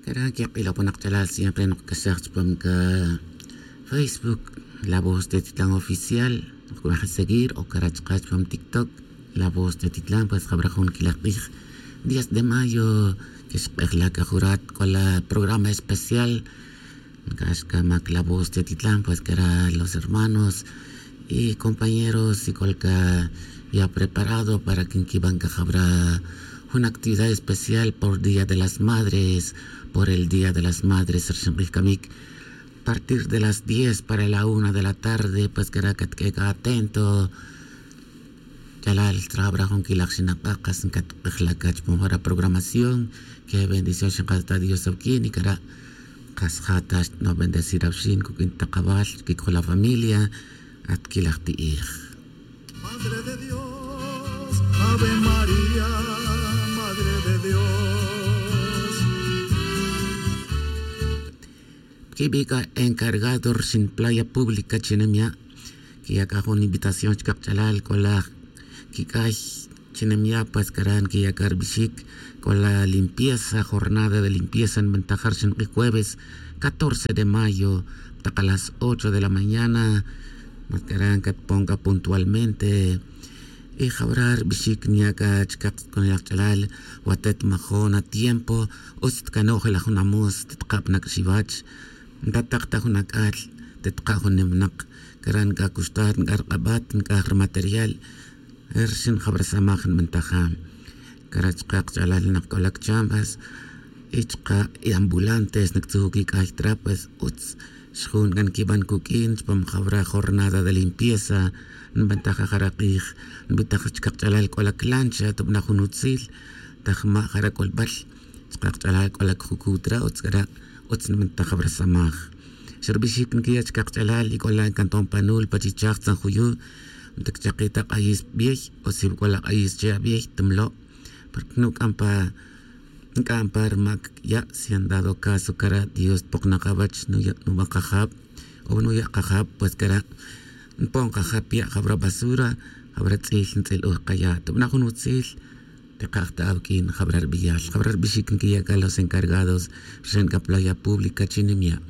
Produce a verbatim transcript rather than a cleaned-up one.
Era que k'ila' ponak ch'alal siempre nokc'axaj chupam ca Facebook, la voz de titlan oficial. Nokc'uaj seguir o cara chka chupam TikTok, la voz de titlan. Pues jabra jun quilaj k'ij, diez de mayo, que xk'ejla' ca jurat c'o la programa especial. Ncax ca mac la voz de titlan, pues cara los hermanos y compañeros y c'o ca ya preparado para que nquiban ca jabra jun actividad especial por día de las madres, por el día de las madres rxin k'ij camic. Partir de las diez para la una de la tarde, pues cara catq'ue ca atento. Ch'alal trabra jun quilaj xinak'a, kas ncatk'ejla' ca chupam jara programación. Qué bendición xinkas ta dios awuquin y cara, kas ja' ta xtno' bendecir awuxin cuq'uin takabal, quic'ola familia. At quilaj ti'ij. Madre de dios, ave maría, madre de dios. Quibi' c'a encargado rxin playa pública chinem ya', quiya' c'a jun invitación chca kach'alal c'o la quic'ay chinem ya'. Pues cara' nquiya' c'a rbixic c'o la limpieza, jornada de limpieza nbantaja rxin k'ij jueves, catorce de mayo, tak a las ocho de la mañana. Mas cara' ncatpon c'a puntualmente. Y jawra' rbixic nya' c'a chca kac'onel kach'alal, watet majon atiempo, utz tcano'jel ajun amus, titka' pa nac'ax iwach. Ntatak ta jun ac'al, titka' jun nimnak. Cara' nc'a cuxtar nc'a rk'abat nc'a rmaterial. Rxin jawra samaj nbantaja. Cara' chka kach'alal nak c'o la cchambas, y chka' y ambulantes nactzujuc ic'ay trapes utz. Xjun c'a nquiban cuq'uin chupam jawra jornada de limpieza. Nbantaja jara' k'ij, nbitaj chka kach'alal c'o la clancha tubana jun utzil. Tajma' jara' c'olbal chka kach'alal c'o la cjucu' tra utz cara', utz nbantaj jawra samaj. Xa rbixic nquiya' chka kach'alal y c'o la ncanton panul pa chichaj tzan juyu'. Nticchaki' ta k'ayis biey o si c'o la k'ayis che' abiey tumlo'. Porque nuc'am pa nc'am pa rmac ya'. Si han dado caso cara' dios tpoknak awach nuya' nuban kajab o nuya' kajab, pues cara' npon kajab ya' jawra basura, jawra tz'il ntz'il uj kaya' tubana jun utzil. Tikaj ta awuq'uin jawra rbiyal jawra rbixic nquiya' c'a los encargados rxin c'a playa pública chinem ya'.